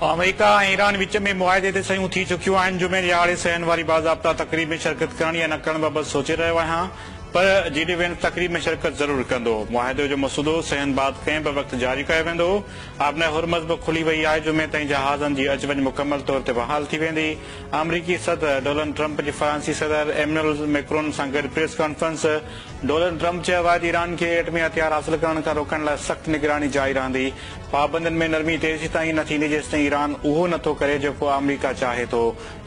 آمريڪا ۽ Iran وچ ۾ معاهدي تي صحيحون ٿي چڪيون آهن، جمعي ڏهاڙي صحيحن واري باضابطا تقريب ۾ شرڪت ڪرڻ يا نه ڪرڻ بابت سوچي رهيو آهيان پر جي ڊي وينس تقريب ۾ شرڪت ضرور ڪندو. معاهدي جو مسودو صحيحن بعد ڪنهن به وقت جاري ڪيو ويندو. آبنائي هرمز به کلي وئي آهي، جمعي تائين جهازن جي اچ وڃ مڪمل طور تي بحال ٿي ويندي. آمريڪي صدر ڊولنڊ ٽرمپ جي فرانسي صدر ايمنوئل ميڪرون سان گڏ پريس ڪانفرنس، ڊولنڊ ٽرمپ چيو آهي ته ايران کي ايٽمي هٿيار حاصل ڪرڻ کان روڪڻ لاء سخت نگراني جاري رهندي. پابندين ۾ نرمي تيسيتائين نه ٿيندي جيستائين ايران اهو نه ٿو ڪري جيڪو آمريڪا چاهي ٿو.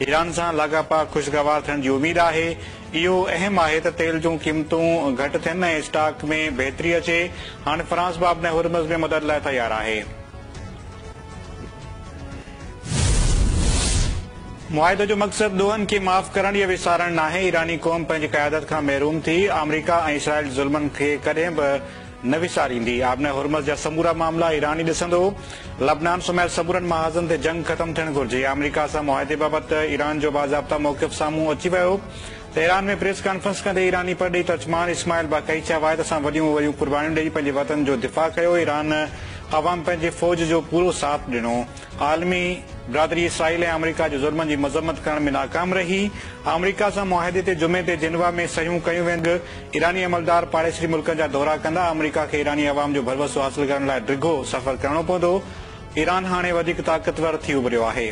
ايران سان لاڳاپا خوشگوار ٿيڻ جي اميد آهي. اهو اهم آهي ته تيل جون قيمتون گهٽ ٿين ۽ اسٽاڪ ۾ بهتري اچي. هاڻي فرانس به آبنائي هرمز ۾ مدد لاء تيار آهي. معاهدي جو مقصد ڏوهن کي معاف ڪرڻ يا وسارڻ ناهي، ايراني قوم پنهنجي قيادت کان محروم ٿي، آمريڪا ۽ اسرائيل جي ظلمن کي ڪڏهن به نه وساريندي، آبنائي هرمز جا سمورا معاملا ايران ئي ڏسندو، لبنان سميت سمورن محاذن تي جنگ ختم ٿيڻ گهرجي، آمريڪا سان معاهدي بابت ايران جو باضابطا موقف سامهون اچي ويو، تهران ۾ پريس ڪانفرنس ڪندي ايراني پرڏيهي ترجمان اسماعيل باقائي چيو آهي ته اسان وڏيون وڏيون قربانيون ڏئي پنهنجي وطن جو دفاع ڪيو، ايران عوام پنهنجي فوج جو پورو ساٿ ڏنو، عالمي برادري اسرائيل ۽ آمريڪا جي ظلمن جي مذمت ڪرڻ ۾ ناڪام رهي، آمريڪا سان معاهدي تي جمعي تي جنيوا ۾ صحيحون ڪيون وينديون، ايراني عملدار پاڙيسري ملڪن جا دورا ڪندا، آمريڪا کي ايراني عوام جو ڀروسو حاصل ڪرڻ لاء ڊگهو سفر ڪرڻو پوندو، ايران هاڻي وڌيڪ طاقتور ٿي اڀريو آهي.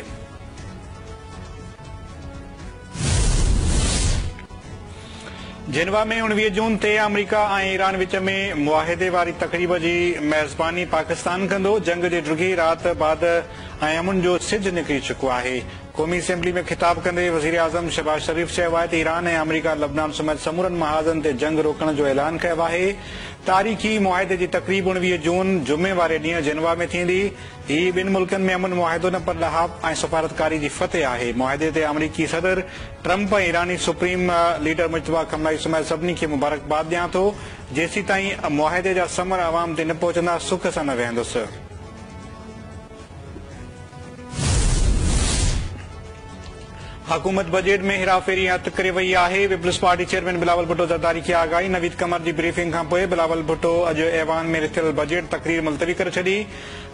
جنيوا ۾ 19 جون تي آمريڪا ۽ ايران وچ ۾ معاهدي واري تقريب جي ميزباني پاڪستان ڪندو، جنگ جي ڊگهي رات بعد ۽ امن جو سج نڪري چڪو آهي. قومي اسيمبلي ۾ خطاب ڪندي وزيراعظم شهباز شريف چيو آهي ته ايران ۽ آمريڪا لبنان سميت سمورن محاذن تي جنگ روڪڻ جو اعلان ڪيو آهي، تاريخي معاهدي جي تقريب 19 جون جمعي واري ڏينهن جنيوا ۾ ٿيندي، هي ٻن ملڪن ۾ امن معاهدو نه پر ڏاهپ ۽ سفارتڪاري جي فتح آهي. معاهدي تي آمريڪي صدر ٽرمپ ۽ ايراني سپريم ليڊر مجتبيٰ خمنائي سميت سڀني کي مبارڪباد ڏيان ٿو. جيسيتائين معاهدي جا ثمر عوام تي نه پهچندا سک سان نه ويهندس. حڪومت بجيٽ ۾ هيراڦيري ۽ هٿ ڪري وئي آهي، peoples party chairman Bilawal Bhutto Zardari کي آگاهي، نويد قمر جي بريفنگ کانپوء بلاول ڀٽو اڄ ايوان ۾ رٿيل بجيٽ تقرير ملتوي ڪري ڇڏي،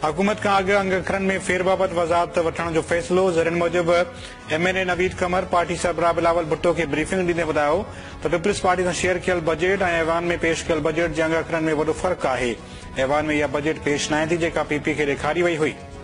حڪومت کان اڳ انگ اکرن ۾ ڦير بابت وضاحت وٺڻ جو فيصلو، ذريعن موجب M N A Naveed Qamar party سربراهه بلاول ڀٽو کي بريفنگ ڏيندي ٻڌايو ته پيپلز پارٽي سان شيئر ڪيل بجيٽ ۽ ايوان ۾ پيش ڪيل بجيٽ جي انگ اکرن ۾ وڏو فرق آهي، ايوان ۾ اها بجيٽ پيش ناهي ٿي جيڪا پي پي کي ڏيکاري وئي هئي.